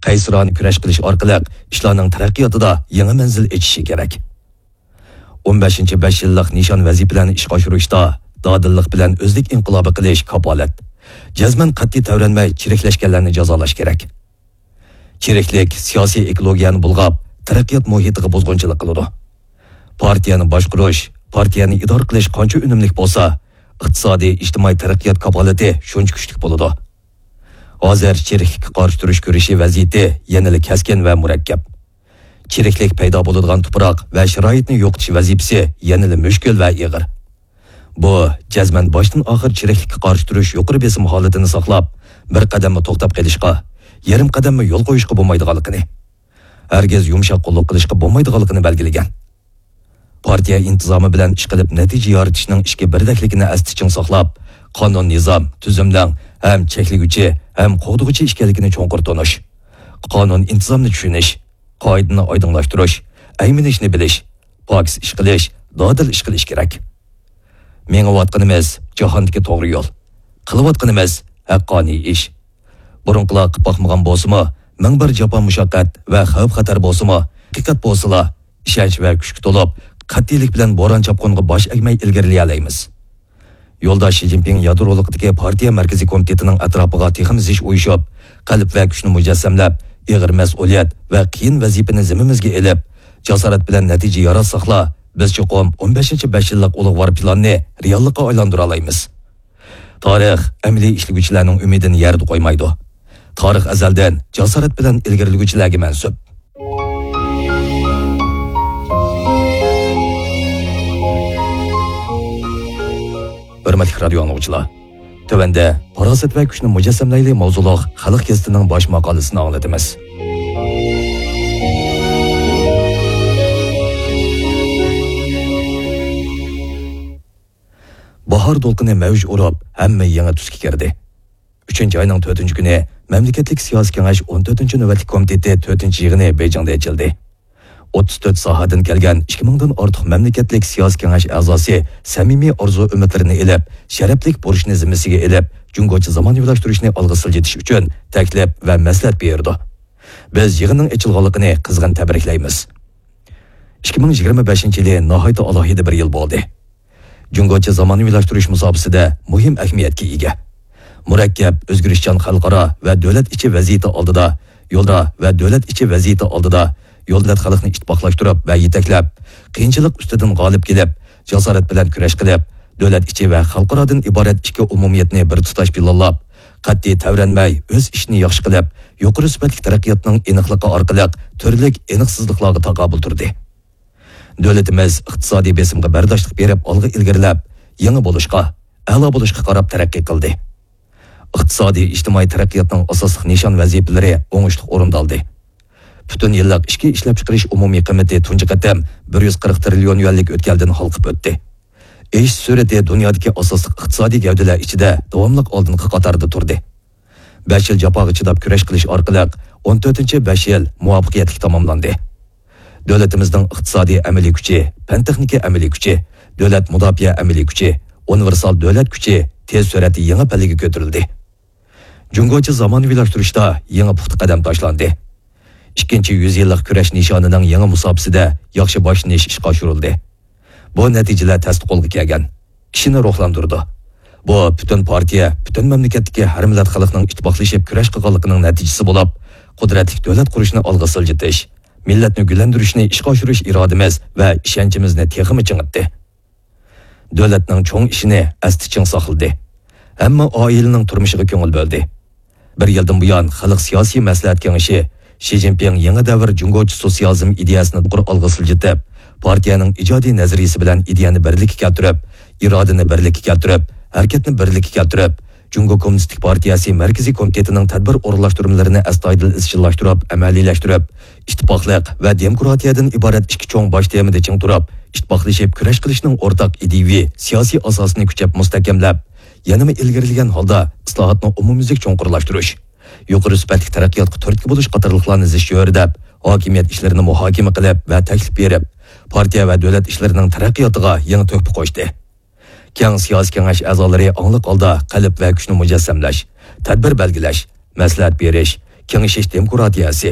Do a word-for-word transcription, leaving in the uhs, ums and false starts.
قەيسىرانە كۈرەش قىلىش ئارقىلىق ئىشلارنىڭ تەرەققىياتىدا يېڭى مەنزىل ئېچىشى كېرەك. ئون بەشىنچى بەش يىللىق نىشان ۋەزىپىلەرنى ئىشقا ئاشۇرۇشتا دادىللىق بىلەن ئۆزلۈك ئىنقىلابى قىلىش كاپالەت. جەزمەن قەتئىي تەۋرەنمەي چىرىكلەشكەنلەرنى جازالاش كېرەك. چىرىكلىك سىياسىي ئېكولوگىيەنى بۇلغاپ، تەرەققىيات مۇھىتىغا بۇزغۇنچىلىق قىلىدۇ. پارتىيەنى باشقۇرۇش، پارتىيەنى ئىدارە قىلىش قانچە ئۈنۈملۈك بولسا، ئىقتىسادىي، ئىجتىمائىي تەرەققىيات كاپالىتى شۇنچە كۈچلۈك بولىدۇ. ھازىر چىرىكلىككە قارشى تۇرۇش كۈرىشى ۋەزىيىتى يەنىلا كەسكىن ۋە مۇرەككەپ. چىرىكلىك پەيدا بولىدىغان تۇپراق ۋە شارائىتنى يوقىتىش ۋەزىپىسى يەنىلا مۈشكۈل ۋە ئېغىر. بۇ، جەزمەن باشتىن ئاخىر چىرىكلىككە قارشى تۇرۇش يۇقىرى بېسىم ھالىتىنى ساقلاپ، بىر قەدەممۇ توختاپ قېلىشقا، يېرىم قەدەممۇ يول قويۇشقا بولمايدىغانلىقىنى، ھەرگىز يۇمشاق قوللۇق قىلىشقا بولمايدىغانلىقىنى بەلگىلىگەن. پارتىيە ئىنتىزامى بىلەن ئىشقىلىپ نەتىجە يارىتىشنىڭ ئىچكى بىردەكلىكىنى ئەستە چىڭ ساقلاپ، قانۇن-نىزام، تۈزۈمنىڭ ھەم چەكلىگۈچى، ھەم قوغدىغۇچى ئىكەنلىكىنى چوڭقۇر تونۇش، قانۇن-ئىنتىزامنى چۈشىنىش، قائىدىنى ئايدىڭلاشتۇرۇش، ئەيمىنىشنى بىلىش، پاكىز ئىش قىلىش، دادىل ئىش قىلىش كېرەك. مېڭىۋاتقىنىمىز جاھاندىكى توغرا يول. قىلىۋاتقىنىمىز ھەققانىي ئىش. بۇرۇنقىلار قىلىپ باقمىغان بولسىمۇ، مىڭ بىر جاپا-مۇشەققەت ۋە خەۋپ-خەتەر بولسىمۇ، ھەقىقەت بولسىلا، ئىشەنچ ۋە كۈچكە تولۇپ، قەتئىيلىك بىلەن بوران-چاپقۇنغا باش ئەگمەي ئىلگىرىلىيەلەيمىز. يولداش شى جىنپىڭ يادرولۇقىدىكى پارتىيە مەركىزىي كومىتېتىنىڭ ئەتراپىغا تېخىمۇ زىچ ئۇيۇشۇپ، قەلب ۋە كۈچنى مۇجەسسەملەپ، ئېغىر مەسئۇلىيەت ۋە قىيىن ۋەزىپىنى زىممىمىزگە ئېلىپ، جاسارەت بىلەن نەتىجە ياراتساقلا، بىز چوقۇم ئون بەشىنچى بەش يىللىق ئۇلۇغۋار پىلاننى رېئاللىققا ئايلاندۇرالايمىز. تارىخ ئەمەلىي ئىشلىگۈچىلەرنىڭ ئۈمىدىنى يەردە قويمايدۇ. تارىخ ئەزەلدىن جاسارەت بىلەن ئىلگىرىلىگۈچىلەرگە مەنسۇپ. ھۆرمەتلىك رادىيو ئاڭلىغۇچىلار، تۆۋەندە پاراسەت ۋە كۈچنى مۇجەسسەملەيلى ماۋزۇلۇق خەلق گېزىتىنىڭ باش ماقالىسىنى ئاڭلىتىمىز. باھار دولقۇنى مەۋج ئۇرۇپ، ھەممە يېڭى تۈسكە كىردى. ئۈچىنچى ئاينىڭ تۆتىنچى كۈنى مەملىكەتلىك سىياسىي كېڭەش ئون تۆتىنچى نۆۋەتلىك كومىتېتى تۆتىنچى يىغىنى بېيجىڭدا ئېچىلدى. ئوتتۇز تۆت ساھەدىن كەلگەن ئىككى مىڭدىن ئارتۇق مەملىكەتلىك سىياسىي كېڭەش ئەزاسى سەمىمىي ئارزۇ-ئۈمىدلىرىنى ئېلىپ، شەرەپلىك بۇرچنى زىممىسىگە ئېلىپ، جۇڭگوچە زامانىۋىلاشتۇرۇشنى ئالغا سىلجىتىش ئۈچۈن تەكلىپ ۋە مەسلىھەت بېرىدۇ. بىز يىغىننىڭ ئېچىلغانلىقىنى قىزغىن تەبرىكلەيمىز. ئىككى مىڭ يىگىرمە بەشىنچى يىلى ناھايىتى ئالاھىدە بىر يىل بولدى. جۇڭگوچە زامانىۋىلاشتۇرۇش مۇساپىسىدە مۇھىم ئەھمىيەتكە ئىگە. مۇرەككەپ، ئۆزگىرىشچان خەلقئارا ۋە دۆلەت ئىچى ۋەزىيىتى ئالدىدا، يولدا ۋە دۆلەت ئىچى ۋەزىيىتى ئالدىدا، يولدەت خەلقنى ئىتتىپاقلاشتۇرۇپ ۋە يېتەكلەپ، قىيىنچىلىق ئۈستىدىن غالىب كېلىپ، جاسارەت بىلەن كۈرەش قىلىپ، دۆلەت ئىچى ۋە خەلقئارادىن ئىبارەت ئىككى ئومۇمىيەتنى بىر تۇتاش پىلانلاپ، قەتئىي تەۋرەنمەي، ئۆز ئىشىنى ياخشى قىلىپ، يۇقىرى سۈپەتلىك تەرەققىياتنىڭ ئېنىقلىقى ئارقىلىق تۈرلۈك ئېنىقسىزلىقلارغا تاقابىل تۇردى. دۆلىتىمىز ئىقتىسادىي بېسىمغا بەرداشلىق بېرىپ ئالغا ئىلگىرىلەپ، يېڭى بولۇشقا، ئەلا بولۇشقا قاراپ تەرەققىي قىلدى. ئىقتىسادىي ئىجتىمائىي تەرەققىياتنىڭ ئاساسلىق نىشان ۋەزىپىلىرى ئوڭۇشلۇق ئورۇندالدى. پۈتۈن يىللىق ئىچكى ئىشلەپچىقىرىش ئومۇمىي قىممىتى تۇنجى قېتىم بىر يۈز قىرىق تىرىليون يۈەنلىك ئۆتكەلدىن ھالقىپ ئۆتتى. ئېشىش سۈرئىتى دۇنيادىكى ئاساسلىق ئىقتىسادىي گەۋدىلەر ئىچىدە داۋاملىق ئالدىنقى قاتاردا تۇردى. بەش يىل جاپاغا چىداپ كۈرەش قىلىش ئارقىلىق ئون تۆتىنچى بەش يىل مۇۋەپپەقىيەتلىك تاماملاندى. دۆلىتىمىزنىڭ ئىقتىسادىي ئەمەلىي كۈچى، پەن-تېخنىكا ئەمەلىي كۈچى، دۆلەت مۇداپىئە ئەمەلىي كۈچى، ئۇنىۋېرسال دۆلەت كۈچى تېز سۈرئەتتە يېڭى پەللىگە كۆتۈرۈلدى. جۇڭگوچە زامانىۋىلاشتۇرۇشتا يېڭى پۇختا قەدەم تاشلاندى. ئىككىنچى يۈز يىللىق كۈرەش نىشانىنىڭ يېڭى مۇساپىسىدە ياخشى باشلىنىش ئىشقا ئاشۇرۇلدى. بۇ نەتىجىلەر تەستە قولغا كەلگەن. كىشىنى روھلاندۇرىدۇ. بۇ پۈتۈن پارتىيە، پۈتۈن مەملىكەتتىكى ھەر مىللەت خەلقنىڭ ئىتتىپاقلىشىپ كۈرەش قىلغانلىقىنىڭ نەتىجىسى بولۇپ، قۇدرەتلىك دۆلەت قۇرۇشنى ئالغا سىلجىتىش، مىللەتنى گۈللەندۈرۈشنى ئىشقا ئاشۇرۇش ئىرادىمىز ۋە ئىشەنچىمىزنى تېخىمۇ چىڭىتتى. دۆلەتنىڭ چوڭ ئىشىنى ئەستە چىڭ ساقلىدى. ھەممە ئائىلىنىڭ تۇرمۇشىغا كۆڭۈل بۆلدى. بىر يىلدىن بۇيان، خەلق سىياسىي مەسلىھەت كېڭىشى شى جىنپىڭ يېڭى دەۋر جۇڭگوچە سوتسىيالىزم ئىدىيەسىنى يۇقىرى ئالغا سىلجىتىپ، پارتىيەنىڭ ئىجادىي نەزەرىيىسى بىلەن ئىدىيەنى بىرلىككە كەلتۈرۈپ، ئىرادىنى بىرلىككە كەلتۈرۈپ، ھەرىكەتنى بىرلىككە كەلتۈرۈپ، جۇڭگو كوممۇنىستىك پارتىيەسى مەركىزىي كومىتېتىنىڭ تەدبىر ئورۇنلاشتۇرمىلىرىنى ئەستايىدىل ئىزچىللاشتۇرۇپ، ئەمەلىيلەشتۈرۈپ، ئىتتىپاقلىق ۋە دېموكراتىيەدىن ئىبارەت ئىككى چوڭ باش تېمىدا چىڭ تۇرۇپ، ئىتتىپاقلىشىپ كۈرەش قىلىشنىڭ ئورتاق ئىدىيىۋى سىياسىي ئاساسىنى كۈچەپ مۇستەھكەملەپ، يەنىمۇ ئىلگىرىلىگەن ھالدا ئىسلاھاتنى ئومۇميۈزلۈك چوڭقۇرلاشتۇرۇش، يۇقىرى سۈپەتلىك تەرەققىياتقا تۈرتكە بولۇش قاتارلىقلارنى زىچ چۆرىدەپ، ھاكىمىيەت ئىشلىرىنى مۇھاكىمە قىلىپ ۋە تەكلىپ بېرىپ، پارتىيە ۋە دۆلەت ئىشلىرىنىڭ تەرەققىياتىغا يېڭى تۆھپە قوشتى. كەڭ سىياسىي كېڭەش ئەزالىرى ئاڭلىق ھالدا قەلب ۋە كۈچنى مۇجەسسەملەش، تەدبىر بەلگىلەش، مەسلىھەت بېرىش، كېڭىشىش دېموكراتىيەسى،